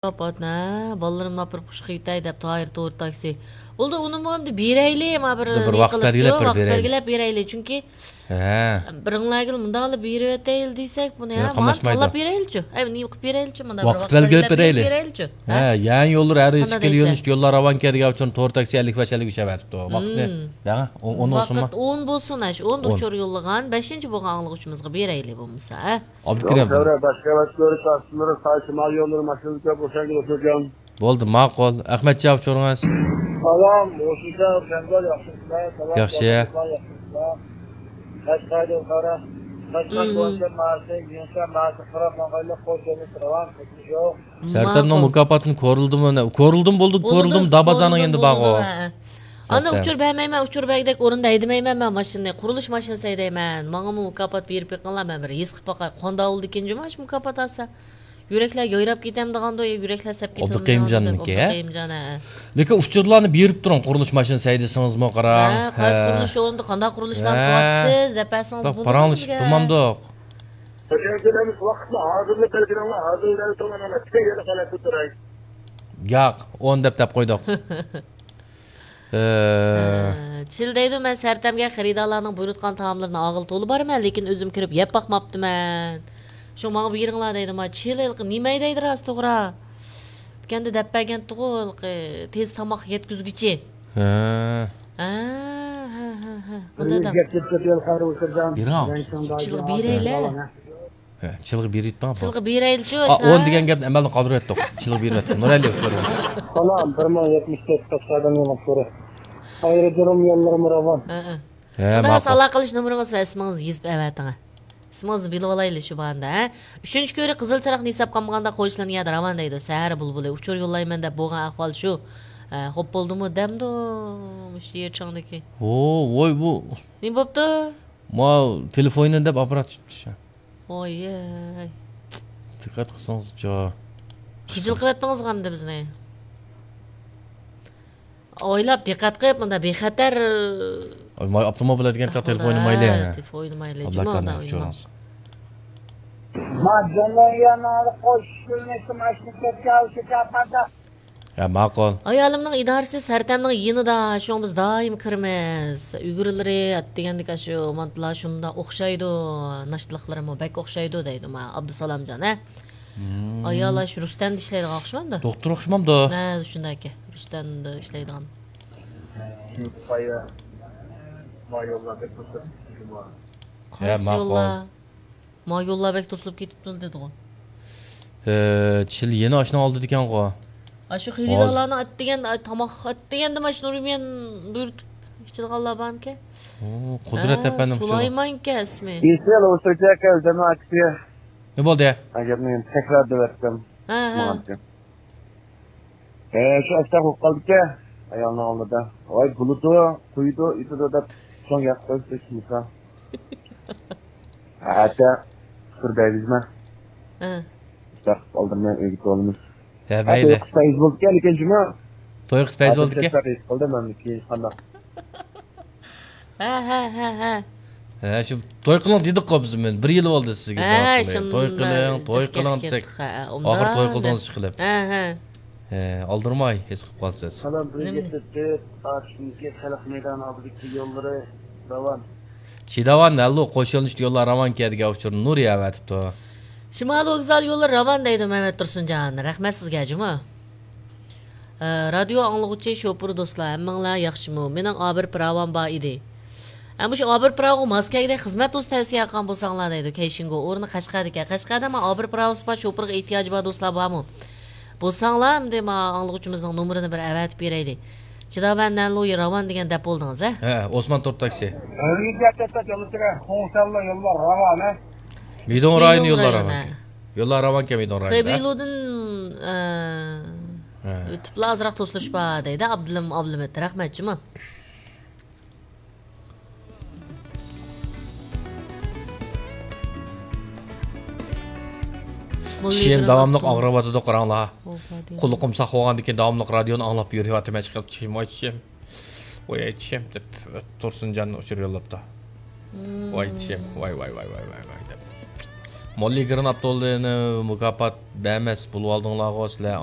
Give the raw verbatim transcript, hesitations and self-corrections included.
ئاپات، ھە، بالىلىرىمنى ئاپىرىپ خۇشقا يېتەي دەپ تايىر تور تاكسى. بولدى، ئۇنىمۇ ئەمدى بېرەيلى، ما بىر بىر نېمە ۋاقىت قىلىپچۇ، بەلگىلەپ بىر ۋاقىت بېرەيلى. بەلگىلەپ بېرەيلى، چۈنكى ھە. بىرىڭلارگىلا مۇنداقلا بېرىۋېتەيلى دېسەك، بۇنى ھە، ھە، ماڭا قاملاشمايدۇ. تاللاپ بېرەيلىچۇ. ئەي، نېمە قىلىپ بېرەيلىچۇ؟ مانا بىر ۋاقىت ۋاقىت بەلگىلەپ بېرەيلى. بېرەيلىچۇ. ھە، ھە؟ يەنى يوللىرى ھەر قانداق ئىككىلا دەيسىلەر؟ يۆنىلىشتە يوللار راۋان كەلدىگەن ئۇچۇر تور تاكسى ئەللىك بەش ئەللىك ئۈچ ئەۋەتىپتۇ. ۋاقىتنى، مم. دەڭە، ئون، ئون بولسۇنمۇ؟ ۋاقىت ئون بولسۇن، ھە، شۇ ئوندا ئون. ئۇچۇر يوللىغان بەشىنچى بولغان ئاڭلىغۇچىمىزغا بېرەيلى بولمىسا، ھە؟ ئابدۇكېرىم. يول چەۋرە، باشقا ئەۋەتكۈلەر، تاكسىلىرى، ساي شىمال يوللىرى ماشىنىسىگە بولسا ئوخشايدۇ، ئوخشايدۇ. بولدى، ماقۇل. ئەخمەتجان ئۇچۇرىڭىز. سالام، ھوشۇمكەن، جەڭگال، ياخشىمۇسىلەر؟ سالام، ياخشى. ياخشىمۇسىلەر؟ قەشقەر يوللىرى، قەشقەر مم. بويىچە مارشى، يۈنسە مارشى قاراپ ماڭغايلى، قوش يولنى راۋان، قىلىش يوق. سەرتەرنىڭ ماقۇل. مۇكاپاتىنى كورلىدىمۇ، كورلىدىم بولدى، بولدى، كورلىدىم، دابازانىڭ كورلىدىم ئەمدى بولدى، بارغۇ. ھە. ئانا سەرتەر. ئۇچۇر بەرمەيمەن، ئۇچۇر بەرگۈدەك ئورۇندا ھەيدىمەيمەن مەن ماشىنىنى، قۇرۇلۇش ماشىنىسى ھەيدەيمەن. ماڭىمۇ مۇكاپات بېرىپ بېقىڭلار، مەن بىر ھېس قىلىپ باقاي، قانداق بولىدىكىن جۇما شۇ مۇكاپات ئالسا. يۈرەكلەر يايراپ كېتەمدىغاندۇ، يا يۈرەكلەر سەپ كېتەمدىغاندۇ دەپ، ئابدۇقېيىمجاننىڭكى، ھە؟ ئابدۇقېيىمجان، ھە. لېكىن ئۇچۇرلارنى بېرىپ تۇرۇڭ، قۇرۇلۇش ماشىنىسى ھەيدىسىڭىزمۇ قاراڭ. ھە، قايسى ھە. قۇرۇلۇش ئورنىدا قانداق قۇرۇلۇشلارنى ھە. قىلىۋاتىسىز دەپ بەرسىڭىز بولىدۇ پاراڭلىشىپ بىزگە. تۇرمامدۇق. خوش گەلدىڭىز، ۋاقىتنى ھازىرلا بەلگىلەڭلار، ھازىرلا بەلگىلەڭلار، مانا، پۈتۈن يەردە قاراپ تۇراي. ياق، ئون دەپ دەپ قويدۇق. ئە. ئە، چىل دەيدۇ، مەن سەرتەمگە خېرىدارلارنىڭ بۇيرۇتقان تائاملىرىنى ئاغىلى تولا بارىمەن، لېكىن ئۆزۈم كىرىپ يەپ باقماپتىمەن. شۇ ماڭا بېرىڭلار دەيدۇ، ما چىل ھېلىقى نېمە دەيدۇ راست توغرا. دۇكاندا دەپ بەرگەنتىغۇ ھېلىقى تېز تاماق يەتكۈزگۈچى. ھە. ھە، ھە، ھە، ھە. بۇ دادام. بېرىڭ. چىلغا بېرەيلى. ھە، چىلغا بېرىۋېتىڭ، بولدى. چىلغا بېرەيلىچۇ، ھە، ئون دېگەن گەپنى ئەمەلدىن قالدۇرۇۋەتتۇق. چىلغا بېرىۋەتتۇق. نۇرئەلى ئۇچۇر. سالام، بىر مىڭ يەتمىش تۆت قەشقەردىن يېڭى ئۇچۇرى. ئايرودروم يوللىرىمۇ راۋان. ھە، ھە. ھە، ماقۇل. ئالاقە قىلىش نومۇرىڭىز ۋە ئىسمىڭىزنى يېزىپ ئەۋەتىڭ. ئىسمىڭىزنى بىلىۋالايلى شۇ باندا، ھە؟ ئۈچىنچى كۆرۈك قىزىل چىراغنى ھېساب قىلمىغاندا قويۇشلىرىنى يەردە راۋان دەيدۇ. سەھەر بۇلبۇلى ئۇچۇر يوللايمەن دەپ بولغان ئەھۋال شۇ. ھە، خوپ بولدىمۇ دەمدۇ مۇشۇ يېرى چاڭدىكى. ھو، ۋوي بۇ. نېمە بوپتۇ؟ ما تېلېفوننى دەپ ئاپپارات چىقىپتۇ شۇ. ۋاي. دىققەت قىلسىڭىزچۇ. خىجىل قىلىۋەتتىڭىزغۇ ئەمدى بىزنى. ئويلاپ دىققەت قىلىپ، مۇنداق بىخەتەر. ئاي، ماي ئاپتوموبىل دېگەن چاغ تېلېفون ئوينىمايلى. ئاھا، تېلېفون ئوينىمايلى. ئابلا جۇمۇ، كارناي ئۇندا ئۇچۇرىڭىز. ما جانلانغان قوشۇلمىسى ماشىنا كەتكەن، ئۇ شۇ چاپاندا. ھە، ماقۇل. ئايالىمنىڭ ئىدارىسى سەرتەمنىڭ يېنىدا، شۇڭا بىز دائىم كىرىمىز. ئۈگرىلىرى ئەتىگەندىكى ئاشۇ مانتىلار شۇنداق ئوخشايدۇ، ناشتىلىقلىرىمۇ بەك ئوخشايدۇ دەيدۇ، ما ئابدۇسالامجان، ھە؟ مم. ئايال ئاشۇ رۇستەمدە ئىشلەيدىغان ئوخشىمامدۇ؟ دوختۇر ئوخشىمامدۇ؟ ھە، شۇنداق ئىكەن. رۇستەمدە ئىشلەيدىغان. قايسى يوللار؟ ما يوللار بەك توسۇلۇپ كېتىپتۇ دېدىغۇ. ھە، چىل يەنە ئاشۇنىڭ ئالدىدىكەنغۇ. ئاشۇ خېرىدارلارنىڭ ئەتىگەن، ئاي، تاماق ئەتىگەندە مانا شۇ نۇرمىيەن بۇيرۇتۇپ ئىچىدىغانلار بارمىكەن؟ ئۇ، قۇدرەت ھە، ئەپەندىم شۇ. سۇلايمانكەن ئىسمى. ئىسمى ئۇ سۆزەكەن، جامائەتكە. نېمە بولدى؟ ئەگەر مەن تەكرار دەۋەتسەم، ھە، ھە. ماڭا. ھە، شۇ ئاشۇنداق بولۇپ قالدىكەن ئايالنىڭ ئالدىدا. ۋاي، بولىدۇ، قويىدۇ، ئېتىدۇ دەپ سوڭ ياق قويۇپ قويسىمىكا. ئەتە سۈر بەرگۈزمە. ھە. شۇنداق قىلىپ ئالدىرىمەن ئۆيگە تولىمىز. ھە، ھە، مەيلى. توي قىلسا يۈز بولىدىكەن لېكىن جۇمۇ. توي قىلسا يۈز بولىدىكەن. ھېس قىلدىم مەن كېيىن قانداق. ھە، ھە، ھە، ھە. ھە، شۇ توي قىلىڭ دېدۇققۇ بىز، مەن بىر يىل بولدى سىزگە ھە، توي قىلىڭ، شۇنداق توي قىلىڭ، توي قىلىڭ دېسەك. ھە، ئاخىر توي قىلدىڭىز ئىشقىلىپ. ھە، ھە. ھە، ئالدىرىماي ھېس قىلىپ قالسىز. سالام، بىر نېمە؟ يەتتە تۆت، ئاچىشىمىزكى خەلق مەيدانى ئالدىدىكى يوللىرى راۋان. شىداۋان، ھەللۇ، قوش يۆنىلىشلىك يوللار راۋان كەدىگە ئۇچۇر نۇر ياۋەتىپتۇ. شىمالىي ۋوگزال يوللىرى راۋان دەيدۇ مەمەت تۇرسۇنجان. رەھمەت سىزگە جۇمۇ. ئە، رادىيو ئاڭلىغۇچى شوپۇر دوستلار، ھەممىڭلار ياخشىمۇ؟ مېنىڭ ئابىر پىراۋام بار ئىدى. ئە، مۇشۇ ئابىر پىراۋغا ماس كەلگۈدەك خىزمەت دوستى تەۋسىيە قىلغان بولساڭلار دەيدۇ. كەيشىنگو ئورنى قەشقەردىكەن. قەشقەردە ما ئابىر پىراۋىسى بار، شوپۇرغا ئېھتىياجى بار دوستلار بارمۇ؟ بولساڭلار، ئەمدى ما ئاڭلىغۇچىمىزنىڭ نومۇرىنى بىر ئەۋەتىپ بېرەيلى. چىداۋەن نەنلۇيى راۋان دېگەن دەپ بولدىڭىز، ھە؟ ھە، ئوسمان تور تاكسى. مىدۇڭ رايونى يوللار راۋان. يوللار راۋانكەن مىدۇڭ رايونى. خېبېيلۇدىن، ئە، ھە. ئۆتۈپلا ئازراق توسۇلۇش بار دەيدۇ ئابدۇلىم ئابلىمىت. رەھمەت جۇمۇ. چىشىم داۋاملىق ئاغرىۋاتىدۇ، قاراڭلار. قۇلىقىم ساق بولغاندىن كېيىن داۋاملىق رادىيونى ئاڭلاپ يۈرۈۋاتىمەن، چىقىپ چىشىم، ۋاي چىشىم. ۋاي چىشىم دەپ تۇرسۇنجان ئۇچۇر يوللاپتۇ. ۋاي چىشىم، ۋاي، ۋاي، ۋاي دەپ. موللا ئىگرىن ئابدۇللىنى مۇكاپات بەرمەس بولۇۋالدىڭلارغۇ سىلەر.